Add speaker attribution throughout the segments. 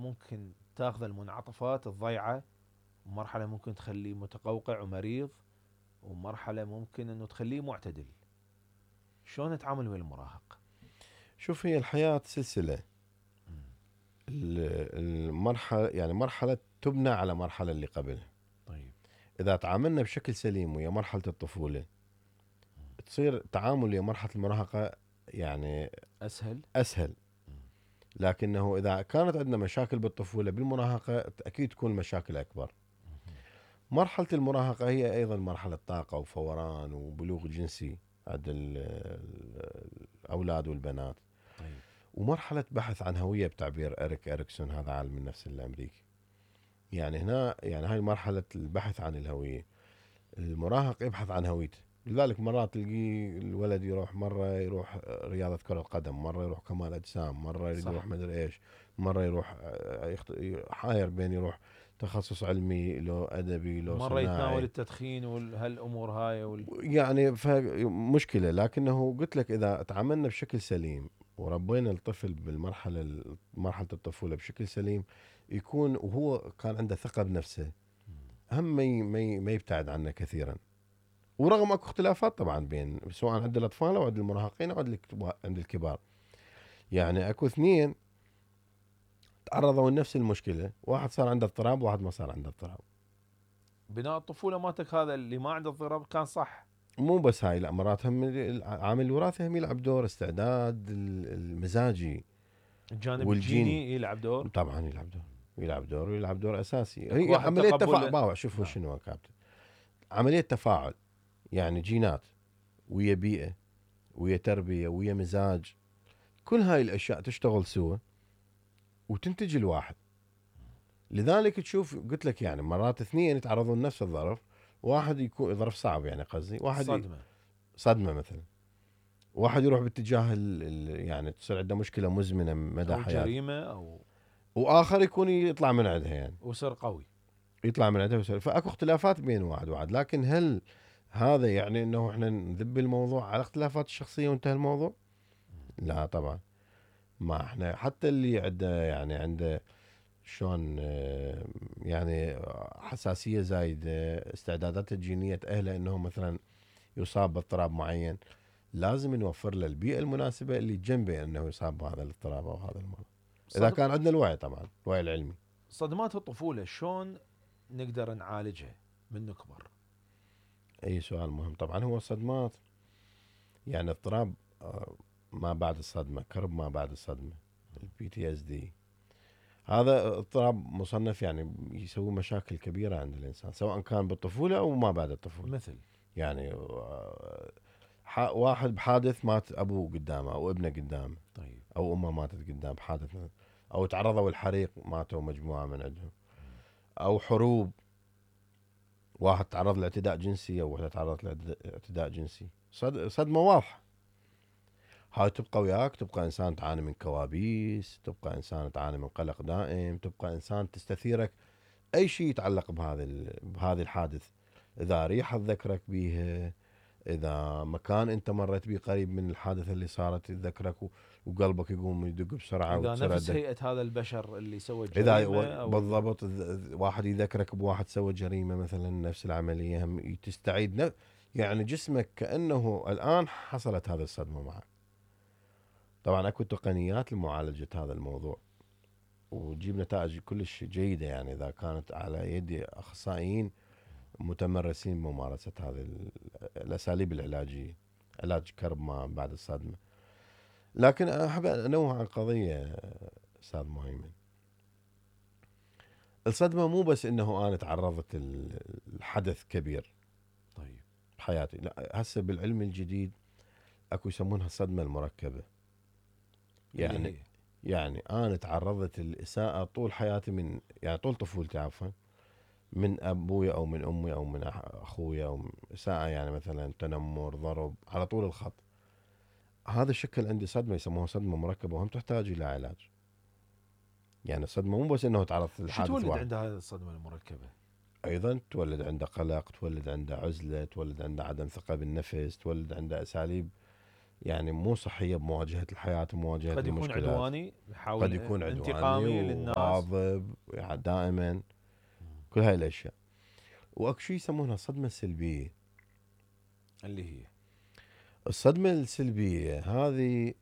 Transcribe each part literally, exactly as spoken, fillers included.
Speaker 1: ممكن تاخذ المنعطفات الضيعة، ومرحلة ممكن تخليه متقوقع ومريض، ومرحلة ممكن انه تخليه معتدل. شلون نتعامل ويا المراهق؟
Speaker 2: شوف، هي الحياة سلسلة. المرحلة يعني مرحلة تبنى على مرحلة اللي قبلها.
Speaker 1: طيب
Speaker 2: إذا تعاملنا بشكل سليم ويا مرحلة الطفولة، تصير تعامل ويا مرحلة المراهقة يعني
Speaker 1: أسهل
Speaker 2: أسهل. لكنه إذا كانت عندنا مشاكل بالطفولة بالمراهقة أكيد تكون المشاكل أكبر. مرحلة المراهقة هي أيضا مرحلة طاقة وفوران وبلوغ جنسي عند الأولاد والبنات.
Speaker 1: طيب.
Speaker 2: ومرحلة بحث عن هوية بتعبير إريك إريكسون، هذا عالم النفس الأمريكي. يعني هنا يعني هاي مرحلة البحث عن الهوية. المراهق يبحث عن هويته، لذلك مرات تلقيه الولد يروح مرة يروح رياضة كرة قدم، مرة يروح كمال أجسام، مرة يريد يروح مدري إيش، مرة يروح حاير بين يروح تخصص علمي لو أدبي لو
Speaker 1: مرة
Speaker 2: صناعي،
Speaker 1: يتناول التدخين وهالأمور هاي وال...
Speaker 2: يعني مشكلة. لكنه قلت لك إذا تعاملنا بشكل سليم وربينا الطفل بالمرحلة مرحلة الطفولة بشكل سليم، يكون وهو كان عنده ثقة بنفسه، هم ما ما يبتعد عنا كثيرا. ورغم اكو اختلافات طبعا بين سواء عند الاطفال او عند المراهقين او عند الكبار. يعني اكو اثنين تعرضوا لنفس المشكله، واحد صار عنده اضطراب وواحد ما صار عنده اضطراب.
Speaker 1: بناء الطفولة مالتك هذا اللي ما عنده اضطراب كان صح.
Speaker 2: مو بس هاي، لا، مرات هم عامل الوراثه هم يلعب دور، استعداد المزاجي
Speaker 1: الجانب
Speaker 2: والجيني
Speaker 1: الجيني يلعب دور.
Speaker 2: طبعا يلعب دور، يلعب دور ويلعب دور اساسي.
Speaker 1: اكو
Speaker 2: هي
Speaker 1: واحد
Speaker 2: عمليه
Speaker 1: تقبل.
Speaker 2: تفاعل. شوفوا
Speaker 1: نعم.
Speaker 2: شنو يا كابتن، عمليه تفاعل. يعني جينات ويا بيئه ويا تربيه ويا مزاج، كل هاي الاشياء تشتغل سوا وتنتج الواحد. لذلك تشوف قلت لك يعني مرات اثنين يتعرضون لنفس الظرف، واحد يكون ظرف صعب يعني قصدي واحد
Speaker 1: صدمة.
Speaker 2: صدمه مثلا، واحد يروح باتجاه ال ال يعني تصير عنده مشكله مزمنه مدى
Speaker 1: او
Speaker 2: حياته،
Speaker 1: جريمة او
Speaker 2: واخر يكون يطلع من عندها، يعني
Speaker 1: وصير قوي.
Speaker 2: يطلع من عندها ويصير. فاكو اختلافات بين واحد وواحد، لكن هل هذا يعني انه احنا نذب الموضوع على اختلافات الشخصيه وانتهى الموضوع؟ لا طبعا. ما احنا حتى اللي عنده يعني عنده شلون يعني حساسية زايدة، استعدادات الجينية تأهله انه مثلا يصاب باضطراب معين، لازم نوفر له البيئة المناسبة اللي جنبه انه يصاب بهذا الاضطراب او هذا المرض، اذا كان عندنا الوعي طبعا، الوعي العلمي.
Speaker 1: صدمات الطفولة شلون نقدر نعالجها من نكبر؟
Speaker 2: اي سؤال مهم. طبعا هو الصدمات يعني اضطراب ما بعد الصدمة، كرب ما بعد الصدمة، البي تي اس دي، هذا اضطراب مصنف يعني يسوي مشاكل كبيرة عند الإنسان سواء كان بالطفولة أو ما بعد الطفولة.
Speaker 1: مثل
Speaker 2: يعني واحد بحادث مات أبوه قدامه أو ابنه قدامه.
Speaker 1: طيب.
Speaker 2: أو أمه ماتت قدام بحادث، أو تعرضوا الحريق ماتوا مجموعة من عندهم، أو حروب، واحد تعرض لاعتداء جنسي أو واحدة تعرضت لاعتداء جنسي، صدمة واضحة. هاي تبقى وياك، تبقى إنسان تعاني من كوابيس، تبقى إنسان تعاني من قلق دائم، تبقى إنسان تستثيرك أي شيء يتعلق بهذا بهذه الحادث. إذا ريحة تذكرك بيها، إذا مكان أنت مريت به قريب من الحادثة اللي صارت يتذكرك وقلبك يقوم يدق بسرعة.
Speaker 1: إذا نفس هيئة هذا البشر اللي سوى
Speaker 2: إذا
Speaker 1: جريمة أو
Speaker 2: بالضبط واحد يذكرك بواحد سوى جريمة مثلا نفس العملية، هم تستعيد يعني جسمك كأنه الآن حصلت هذه الصدمة معك. طبعا أكو تقنيات لمعالجة هذا الموضوع وتجيب نتائج كلش جيدة، يعني إذا كانت على يد أخصائيين متمرسين بممارسة هذه الأساليب العلاجية، علاج كرب ما بعد الصدمة. لكن أحب أنوه عن قضية أستاذ مهيمن، الصدمة مو بس إنه أنا تعرضت الحدث كبير
Speaker 1: طيب
Speaker 2: بحياتي، لا، هسه بالعلم الجديد أكو يسمونها الصدمة المركبة. يعني
Speaker 1: هي.
Speaker 2: يعني أنا تعرضت الإساءة طول حياتي، من يعني طول طفولتي عفوا، من أبويا أو من أمي أو من أخويا، أو إساءة يعني مثلا تنمر، ضرب على طول الخط. هذا الشكل عندي صدمة يسموها صدمة مركبة، وهم تحتاج إلى علاج. يعني الصدمة مو بس إنه تعرضت للحادث
Speaker 1: شو تولد
Speaker 2: واحد،
Speaker 1: عند هذه الصدمة المركبة؟
Speaker 2: أيضا تولد عنده قلق، تولد عنده عزلة، تولد عنده عدم ثقة بالنفس، تولد عنده أساليب يعني مو صحيه بمواجهه الحياه ومواجهه
Speaker 1: قد يكون
Speaker 2: المشكلات.
Speaker 1: عدواني يحاول
Speaker 2: قد يكون
Speaker 1: انتقامي
Speaker 2: عدواني
Speaker 1: للناس.
Speaker 2: وغاضب يعني دائما، كل هاي الاشياء. واكو شيء يسمونها الصدمه السلبيه.
Speaker 1: اللي هي
Speaker 2: الصدمه السلبيه هذه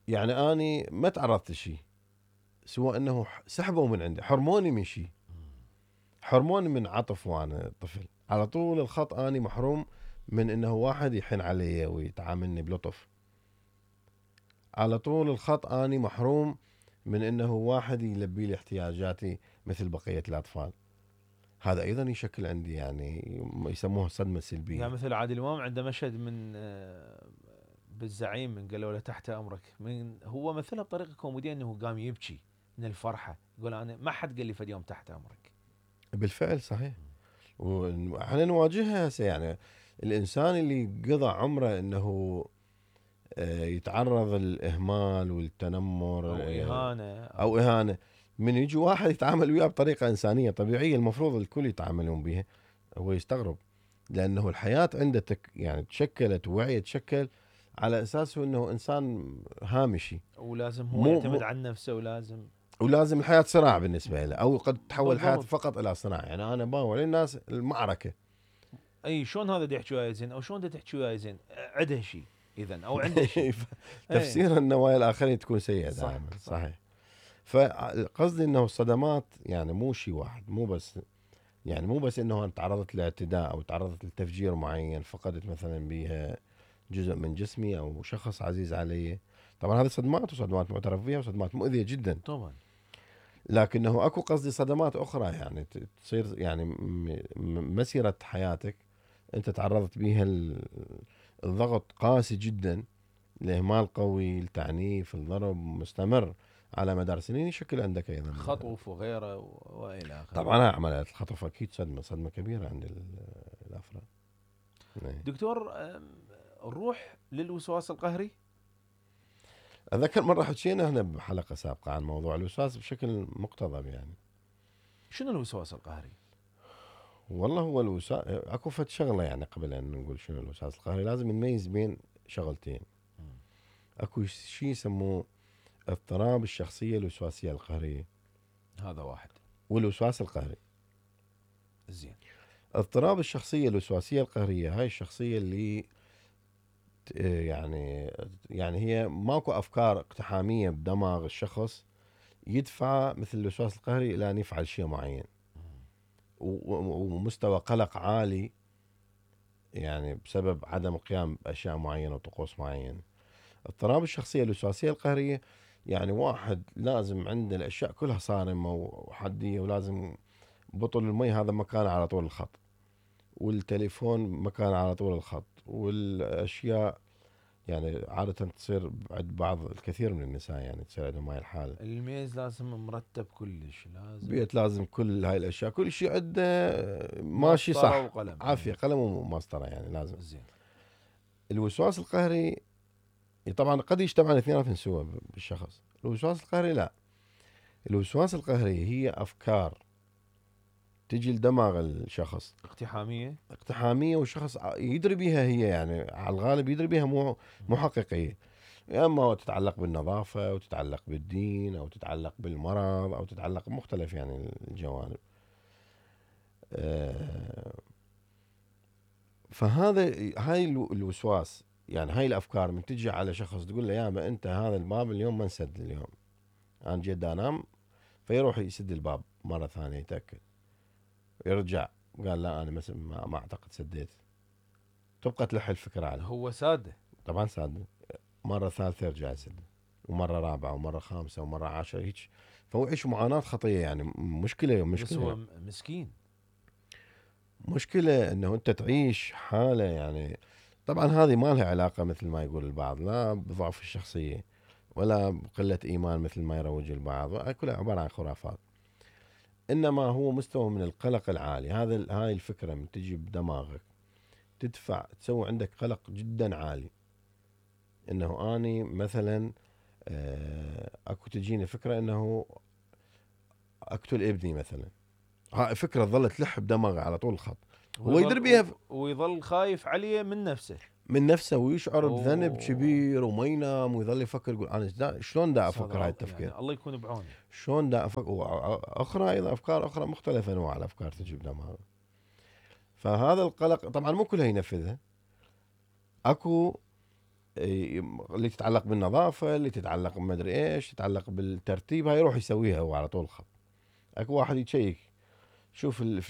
Speaker 2: يعني اني ما تعرضت لشيء، سوى انه سحبوا من عندي، حرموني من شيء، حرموني من عطف وانا طفل. على طول الخط اني محروم من انه واحد يحن علي ويتعاملني بلطف. على طول الخط اني محروم من انه واحد يلبي لي احتياجاتي مثل بقيه الاطفال. هذا ايضا يشكل عندي يعني يسموه صدمه سلبيه.
Speaker 1: يعني مثل عادل امام عنده مشهد من آه، بالزعيم من قالوا له تحت امرك، من هو مثلها بطريقه كوميديه انه قام يبكي من الفرحه، يقول انا ما حد قال لي فد يوم تحت امرك.
Speaker 2: بالفعل صحيح. واحنا نواجهها هسه يعني الانسان اللي قضى عمره انه يتعرض للاهمال والتنمر
Speaker 1: او اهانه
Speaker 2: او اهانه، من يجي واحد يتعامل وياه بطريقه انسانيه طبيعيه المفروض الكل يتعاملون بها، هو يستغرب. لانه الحياه عنده تك يعني تشكلت ووعي تشكل على اساس انه انسان هامشي،
Speaker 1: ولازم هو
Speaker 2: مو
Speaker 1: يعتمد
Speaker 2: مو
Speaker 1: على نفسه، ولازم
Speaker 2: ولازم الحياه صراع بالنسبه له، او قد تتحول الحياه
Speaker 1: بالضبط.
Speaker 2: فقط الى صراع. يعني انا باول الناس المعركه.
Speaker 1: اي شلون هذا دا يحكي وياي زين، او شلون دا تحكي وياي زين، عنده شيء اذا او عنده شيء.
Speaker 2: تفسير النوايا الاخرين تكون سيئه
Speaker 1: صح
Speaker 2: دائما.
Speaker 1: صح.
Speaker 2: صحيح. فقصدي انه الصدمات يعني مو شيء واحد، مو بس يعني مو بس انه انا تعرضت لاعتداء او تعرضت لتفجير معين فقدت مثلا بها جزء من جسمي او شخص عزيز علي. طبعا هذه صدمات، وصدمات معترف بها، وصدمات مؤذيه جدا
Speaker 1: طبعا.
Speaker 2: لكنه اكو قصدي صدمات اخرى يعني تصير يعني مسيره حياتك انت تعرضت بها الضغط قاسي جدا، الاهمال قوي، التعنيف، الضرب مستمر على مدار سنين، يشكل عندك ايضا
Speaker 1: خطف وغيره والى اخره.
Speaker 2: طبعا عمليات الخطف اكيد صدمه صدمه كبيره عند الافراد.
Speaker 1: دكتور نروح للوسواس القهري.
Speaker 2: اتذكر مره حكينا هنا بحلقه سابقه عن موضوع الوسواس بشكل مقتضب. يعني
Speaker 1: شنو الوسواس القهري؟
Speaker 2: والله هو الوسواس اكو فد شغله يعني قبل ان نقول شنو الوسواس القهري لازم نميز بين شغلتين. اكو شيء يسموه اضطراب الشخصيه الوسواسيه القهريه،
Speaker 1: هذا واحد،
Speaker 2: والوسواس القهري.
Speaker 1: زين.
Speaker 2: اضطراب الشخصيه الوسواسيه القهريه هاي الشخصيه اللي يعني يعني هي ماكو افكار اقتحاميه بدماغ الشخص يدفع مثل الوسواس القهري الى ان يفعل شيء معين، ومستوى قلق عالي يعني بسبب عدم القيام باشياء معينه وطقوس معينه. اضطراب الشخصيه الوسواسيه القهريه يعني واحد لازم عنده الاشياء كلها صارمه وحديه، ولازم بطل المي هذا مكانه على طول الخط، والتليفون مكانه على طول الخط، والاشياء يعني عادة تصير عند بعض الكثير من النساء يعني تصير عندهم هاي الحالة.
Speaker 1: الميز لازم مرتب كلش، لازم
Speaker 2: بيت لازم كل هاي الاشياء كل شيء عنده ماشي صح،
Speaker 1: وقلم.
Speaker 2: عافية قلم ومسطرة يعني لازم.
Speaker 1: زين.
Speaker 2: الوسواس القهري طبعا قد يجتمع الاثنين سوا بالشخص. الوسواس القهري لا، الوسواس القهري هي افكار تجي لدماغ الشخص
Speaker 1: اقتحامية
Speaker 2: اقتحامية، والشخص يدري بها هي يعني على الغالب يدري بها مو مو حقيقية. يا اما تتعلق بالنظافه، او تتعلق بالدين، او تتعلق بالمرض، او تتعلق بمختلف يعني الجوانب. فهذا هاي الوسواس يعني هاي الافكار من تجي على شخص تقول له يا ما انت هذا الباب اليوم ما انسد اليوم، انا جيت انام، فيروح يسد الباب مره ثانيه يتاكد، يرجع قال لا انا ما, ما اعتقد سديت، تبقى تلح الفكره عليه.
Speaker 1: هو سادة
Speaker 2: طبعا ساده، مره ثالثه يرجع يسد، ومره رابعه ومره خامسه ومره عاشره هيك، فهو يعيش معاناه خطيه يعني مشكله مشكله.
Speaker 1: بس هو مسكين.
Speaker 2: مشكله انه انت تعيش حاله يعني طبعا هذه ما لها علاقه مثل ما يقول البعض لا بضعف الشخصيه ولا بقله ايمان مثل ما يروج البعض، كلها عباره عن خرافات. انما هو مستوى من القلق العالي. هذا هاي الفكره من تجي بدماغك تدفع تسوي عندك قلق جدا عالي، انه اني مثلا اكو تجيني فكره انه اقتل ابني مثلا، هاي فكره ظلت تلح بدماغه على طول الخط، هو يدري بيها.
Speaker 1: ويظل خايف عليه من نفسه.
Speaker 2: من نفسه ويشعر بذنب
Speaker 1: أوه.
Speaker 2: كبير وما ينام ويظل يفكر يقول انا دا شلون دا
Speaker 1: أستاذ
Speaker 2: افكر هاي
Speaker 1: راوكي،
Speaker 2: التفكير
Speaker 1: يعني الله يكون بعونه.
Speaker 2: شلون دا افكر اخرى ايضا افكار اخرى مختلفه انواع الافكار تجي قدام. فهذا القلق طبعا مو كلها ينفذها، اكو اللي تتعلق بالنظافه، اللي تتعلق بمدري ايش، تتعلق بالترتيب، هاي يروح يسويها هو على طول خط. اكو واحد يشيك شوف الفلوس